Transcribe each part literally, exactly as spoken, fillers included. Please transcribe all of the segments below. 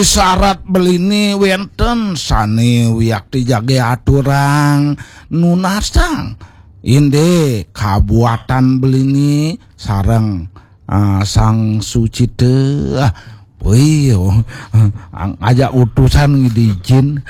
Sarat belini wenten sane wiakti jage aturang nunasang. Inde kabuatan belini sareng, ah, Sang Sucita. Ah, wih, oh, ang-, ajak utusan ngidijin.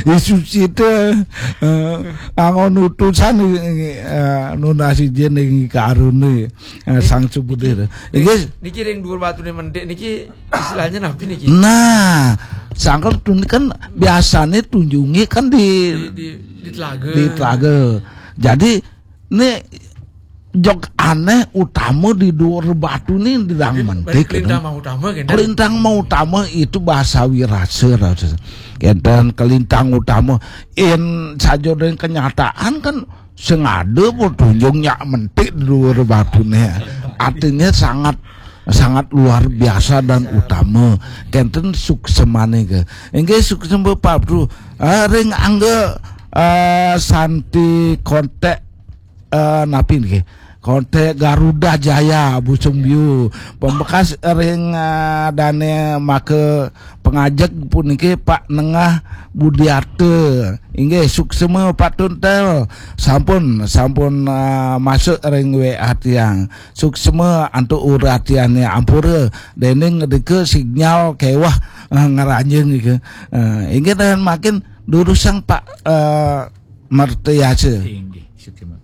I Sucita, eh, angon utusan, eh, nunas ijin ing karune, eh, Sang Subudir. Inggih. Niki ring dhuwur batune mentik niki istilahnya napi niki? Nah, sangkal tun kan biasane tunjunge kan di, di, di, di telaga. Di telaga. Jadi, ne jog aneh utama di dhuwur batu ni di dang mentik, kelintang gitu. Mau utama, gitu. Kelintang mau utama itu bahasa wirasa, rasa. Kenten kelintang utama. In saja dengan kenyataan kan sengada pun tunjung nyak mentik di dhuwur batune. Artinya sangat, sangat luar biasa dan utama. Kenten suksemane ke. Inggih suksema Pak Bru. Ah, ring angga, ah, Santi Kontek, eh, napi niki? Kontek Garuda Jaya Busung Biu. Pembekas ring, eh, dane maka pengajeg puniki Pak Nengah Budiarta. Inggih suksema Pak Tuntel. Sampun, sampun, eh, masuk ring W A tiang. Suksema antuk uratiane ampura dening dika sinyal kewah, eh, ngranjing nika. Eh, inggih dan makin durusang Pak, eh, Mertayasa. Inggih, suksema.